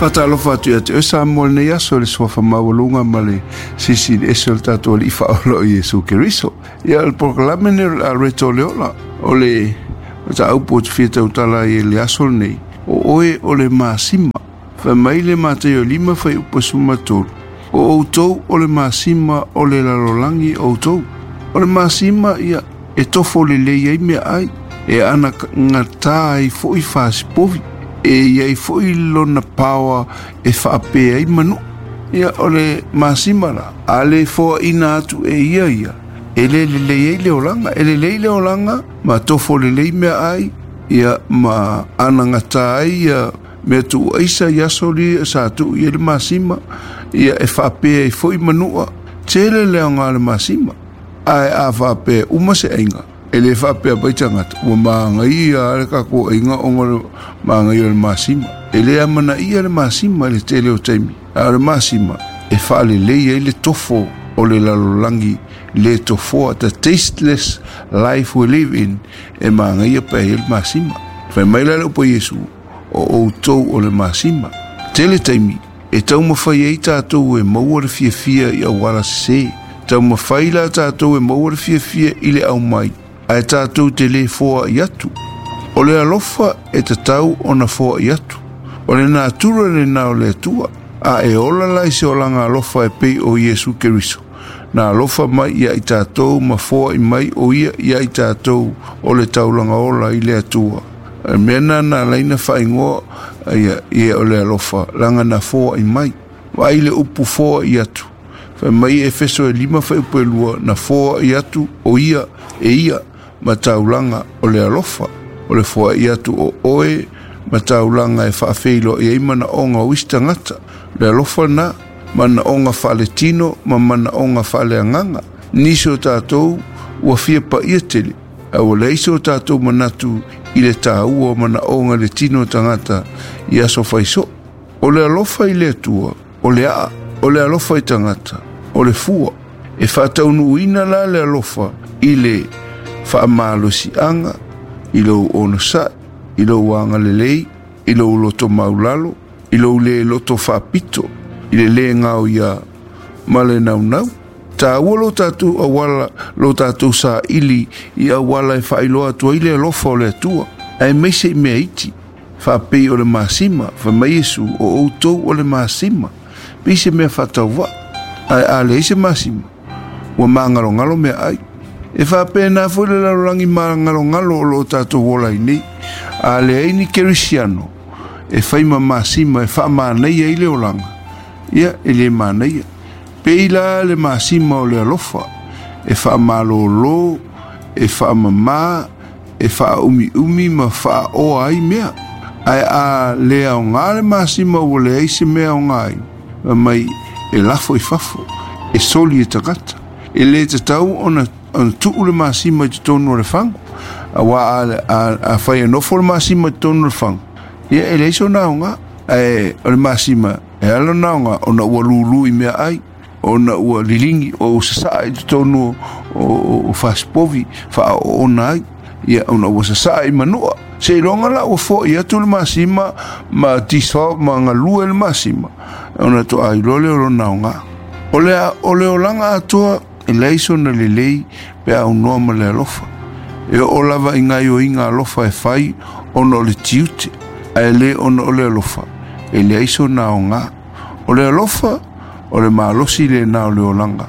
Faatalofa atu ia te oe Samoa i lenei aso i le suafa maualuga ma le Silisili Ese o le tatou Alii Faaola o Iesu Keriso. Ia, o le polokalame lenei o le Loreto o le Ola, o le mataupu ou te fia tautala ai i le aso lenei, o oe o le masima. Fai mai le Mataio 5 fuaiupu 13, o outou o le masima o le lalolagi outou. O le masima ia e tofo lelei ai meaai, e anagata ai foi fasipovi, e i ai foi lona paoa e faapea ai manua. Ia, o le masima la, a le foaina atu e ia ia, e le lelei ai le olaga. E lelei le olaga ma tofo lelei meaai, ia ma anagata ai ia mea tuuaisa i aso lia sa tuu i ai le masima, ia e faapea ai foi manua. Tele le aoga o le masima, ae a faapea uma se aiga, e le faapea mai tagata ua magaia le tatou aiga ona o le magaia o le masima. E le amanaia le masima i le tele o taimi, a o le masima e faalelei ai le tofo o le lalolagi le tofoa, the tasteless life we live in, e magaia pea ai le masima. Fai mai la le upu a Iesu, o outou o le masima. Tele taimi e taumafai ai tatou e maua le fiafia i auala sesē. Taumafai la tatou e maua le fiafia i le aumai, ae tatou te le foai atu. O le alofa e tatau ona foai atu. O le natura lena o le Atua. A e ola la i se olaga alofa e pei o Iesu Keriso, na alofa mai ia i tatou ma foai mai o ia ia i tatou o le taulaga ola i le Atua. O le mea lena na ala ai ona faaigoa ia, ia o le alofa, leaga na foai mai. Vaai le upu foai atu. Fai mai Efeso e 5 fuaiupu e 2, na foai atu o ia e ia ma taulaga o le alofa. O le foai atu o oe ma taulaga e faafeiloai ai manaoga o isi tagata. O le alofa lena, manaoga faaletino ma manaoga faaleagaga. Nisi o tatou ua fia paia tele, ae ua leai so tatou manatu i le taua o manaoga i le tino o tagata i aso faisoo. O le alofa i le Atua, o le aa, o le alofa i tagata, o le fua. E faataunuuina la le alofa i le faamalosiaga, i lou onosai, i lou agalelei, i lou loto maulalo, i lou le loto faapito, i le le gaoia ma le naunau. Taua lo tatou auala, lo tatou saili i auala e faailoa atu ai le alofa o le Atua, aemaise i mea iti, faapei o le masima. Fai mai Iesu, o outou o le masima. Pei se mea faatauvaa, ae a leai se masima, ua magalogalo mea ai. E faapena foi le lalolagi magalogalo o lo o tatou ola ai nei. A leai ni kerisiano e fai ma masima e faamanaia ai le olaga, ia e le manaia. Pei la le masima o le alofa e faamalōlō, e faamamā, e faaumiumi ma faaoa ai mea. Ae a le aoga le masima ua leai se mea aoga ai, fai mai e lafo i fafo, e soli e tagata. E le tatau ona tuu le masima i totonu o le fagu, auā a fai e nofo le masima i totonu o le fagu, ia e leai sona aoga. Ae o le masima e ala ona aoga ona ua lūlū i mea ai, ona ua liligi o ua sasaa i totonu o fasipovi faaoona ai, ia ona ua sasaa i manua. Seiloga la ua foai atu le masima ma dissolve ma galue le masima, ona toa iloa lea o lona aoga. O le olaga atoa e leai sona lelei pe a aunoa ma le alofa. E oo lava i gaoioiga alofa e fai ona o le tiute, ae le ona o le alofa, e leai sona aoga. O le alofa, o le malosi lena o le olaga.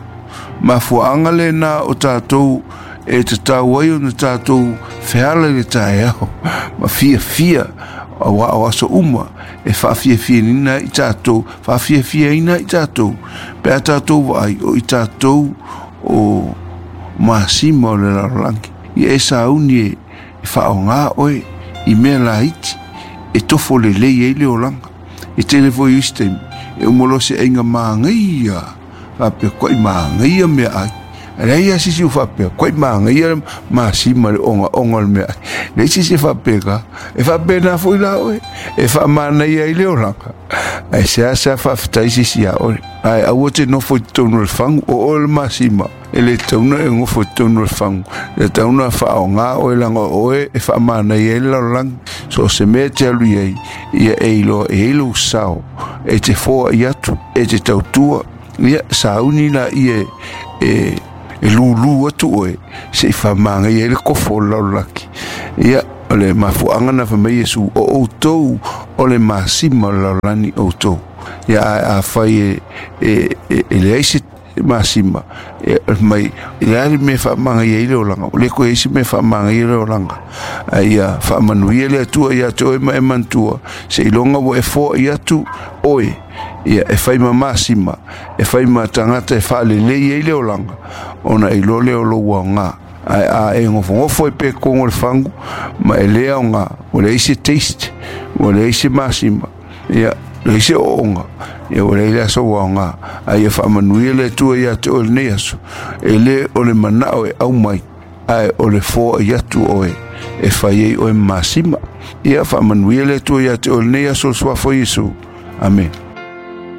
Mafuaaga lena o tatou e tatau ai ona tatou feala i le taeao ma fiafia, auā o aso uma e faafiafiaina ai tatou, faafiafiaina ai tatou, pe a tatou vaai o i tatou o masima o le lalolagi. Ia e sauni e faaaoga oe i mea laiti e tofo lelei ai le olaga. E tele foi isi taimi e uma loa se aiga magaia, faapea koai magaia mea ai, Leai lava se isi ua faapea, Koe manaia le masima i le ogaoga o le meaai. Leai se isi e faapena. E faapena foi la oe, e faamanaia ai le olaga, ae seasea faafetai se isi iā oe. Ae aua te nofo i totonu o le fagu, o oe le masima, e le tatau ona e nofo i totonu o le fagu, e tatau ona faaaoga oe leaga o oe e faamanaia ai le lalolagi. So o se mea e te alu i ai, ia e iloa e i ai lou sao, e te foai atu, e te tautua, ia sauni laia e e lūlū atu oe se i faamagaia ai le kofo o le lalolagi. Ia, o le mafuaaga na fai mai Iesu, o outou o le masima o le lalolagi outou. Ia, ae afai e, e, e, e leai se masima, e, mai, e le a le mea e faamagaia ai le olaga, o le koe ai se mea e faamagaia le olaga. Ae ia faamanuia le Atua ia te oe ma e manatua, seiloga ua e foai atu oe, ia e fai ma masima, e fai ma tagata e faalelei ai le olaga, ona e iloa lea o lou aoga. Ae a e gofogofo ai pea i totonu o le fagu ma e le aoga, ua leai se taste, ua leai se masima, ia, leai se ooooga, ia ua leai la sou aoga. Ae ia faamanuia le Atua ia te oe i lenei aso, e le o le manao e aumai, ae o le foai atu oe e fai ai oe ma masima. Ia faamanuia le Atua ia te oe i lenei aso o le Suafa o Iesu. Amene.